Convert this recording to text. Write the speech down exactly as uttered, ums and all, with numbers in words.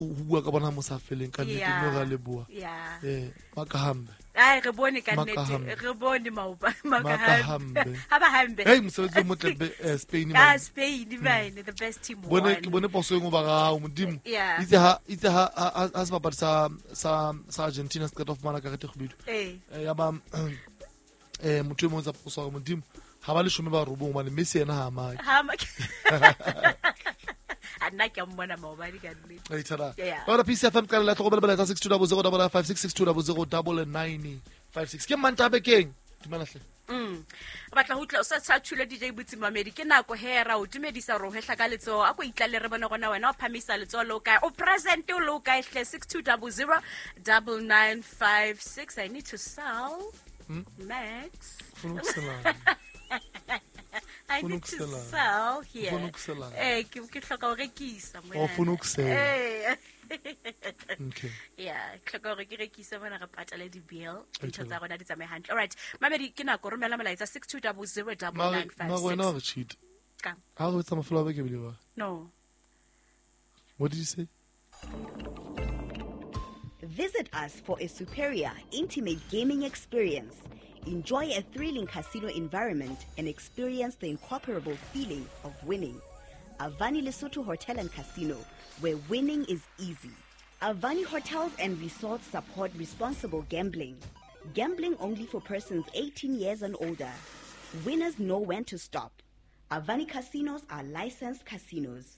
ho bua ka bona mo sa feleng ka nnete Yeah. mme ra leboha. Yeah. Eh, makahambe. Ai, re bone ka nnete, Makahambe. re bone maoba Makahambe. Ha ba hambe. Hey, mosebetsi o motle be eh, Spain Ka man. Spain man, the best team Bone won. ke bone poso e nngwe ba ga modimo. Yeah. Itse ha itse ha ha ha sebapadi sa sa sa Argentina se qeta ho fumana karete e kgubedu. Eh. Eh, ya ba eh motho e mong tsa poso hore modimo ha ba leshome ba robong hobane Messi yena ha a make. Ha ma A nna ke a mmona maobane ka nnete. Ai thara. Yeah. Ba P C F M ka la tlhokomelo bela tsa six two double zero double five six six two double zero double nine five six. Ke Mantaha bekeng. Dumela hle. Mm. Re batla ho utlwa o sa sa thule D J Botsi Mamedi ke nako he ra o dumedisa hore o hehla ka letsoho a ko itlale re bone gona wena o phamisa letsoho le o kae o present o le o kae hle six two double zero double nine five six. I need to sell. Hmm? Max. Ufuna ukuselana. I Ufuna need to ukuselana. sell here. Ufuna ukuselana. Eh, ke ke hloka ho rekisa mona. Oh, ufuna ukusela. Eh. Okay. Yeah, ke hloka hore ke rekise mona re patale di-bill. Dintho Ayithola. tsa rona di tsamaye hantle. All right. Mamedi ke nako romela molaetsa six two double zero double Mare nine five mare wena six. wa re cheat. Ka. Ha re etsa mafelo a beke bile wa. No. What did you say? Visit us for a superior, intimate gaming experience. Enjoy a thrilling casino environment and experience the incomparable feeling of winning. Avani Lesotho Hotel and Casino, where winning is easy. Avani Hotels and Resorts support responsible gambling. Gambling only for persons eighteen years and older. Winners know when to stop. Avani Casinos are licensed casinos.